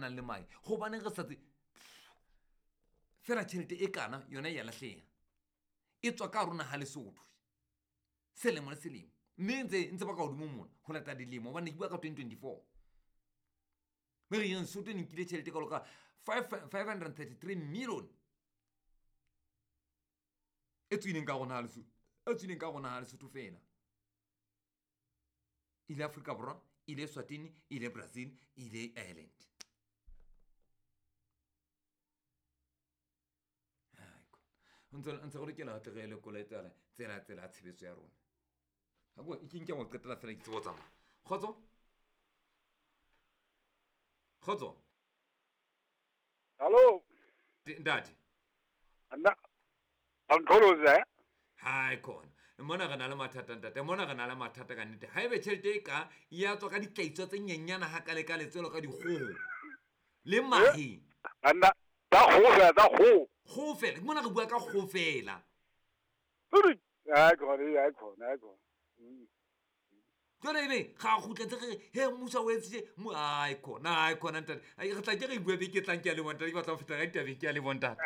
nang le mae gobaneng re sa tse fela tšhelete e kana yona e ya latlhega e tswa ka rona ga lesotho selemo le selemo mme ntse ntse ba ka godimo mona go lata dilemo gobane ke bua ka 2024 mme re yeng sotho e nkile tšhelete kalo ka 533 million e tswileng ka rona lesotho e tswileng ka rona lesotho fela ile Afrika Borwa ile Swatini ile Brazil ile Ireland ntse go lokela tle re lekola tsela tsela tsela ya tshebetso ya rona ga ko ke nke go qetela fela ke tsebo tsamaya kgotso kgotso. Hallo. Ntate. Nna Ankholoze eh? Hai khona mona re na le mathata ntate mona re na le mathata ka nnete ga ebe tšhelete e ka ya tswa ka ditlaitso tse nyenyana ga kale ka letselo ka dikgogo le mahe. Banna tsa kgogo fela tsa kgogo. Kgogo fela mona re bua ka kgogo fela. Hai khona hai khona hai khona. Jwale ebe ga a kgutletse re he mmuso o etsitse ai khona ai khona ntate re tla ke re bua beke e tlang ke a le bontate ke batla go feta ka ditabeng ke a le bontate.